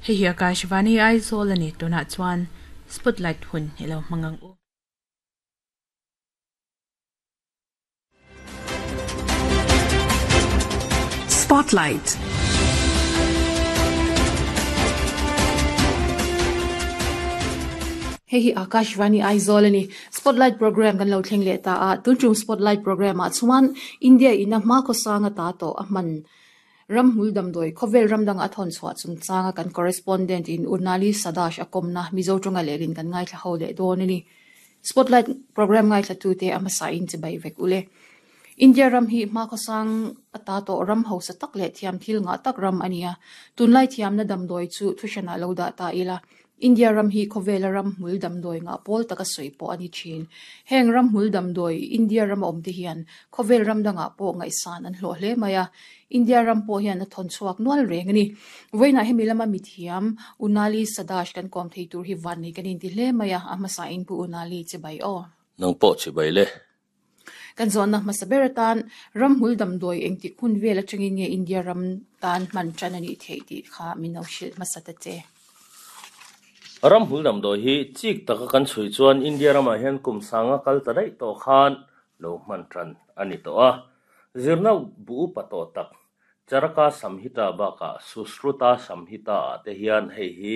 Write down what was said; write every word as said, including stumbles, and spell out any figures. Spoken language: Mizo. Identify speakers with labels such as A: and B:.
A: Hei hi Akashvani Aizawl ani tunah chuan Spotlight hun ilo hmangang u.
B: Spotlight.
C: Hei hi Akashvani Aizawl ani Spotlight program kan lo thleng leh ta a tuntum Spotlight program ah chuan India ina hma khawsanga ta to a hman ramhmul damdawi khawvel ramdang a thawn chhuah chungchanga kan correspondent in Unali Sadash a kawmna Mizo tawnga lehlin kan ngaithla ho leh dawn ani Spotlight program ngaithla tu te a hmasa in chibai vek ule India ram hi hma khawsang ata to ram hausa tak leh thiam thil nga tak ram ania tunlai thiamna damdawi chu thuhranah lo dah ta ila India ram hi khawvela ram hmul damdawi nga pawl taka sawi pawh ani thin heng ram hmul damdawi India ram a awm te hian khawvel ram dangah pawh ngaihsan an hlawh hle mai a India ram pawh hian a thawn chhuak nual reng ani vawiinah hemi lama mithiam Unali Sadash kan kawm thei tur hi van nei kan inti hle mai a a hmasa in pu Unali chibai aw
D: Nang pawh chibai le.
C: Kan zawnna hmasa ber atan ram hmul damdawi engtik hun vel atangin nge India ram tan hman tan ani theih tih kha min lo hrilh hmasa ta che.
D: Ram hmul damdawi hi chik taka kan chhui chuan India ramah hian kum sanga kal ta daih tawh khan lo hman tan ani tawh a. Zirna bu upa tawh tak Charaka Samhita bakah Sushruta Samhita ah te hian hei hi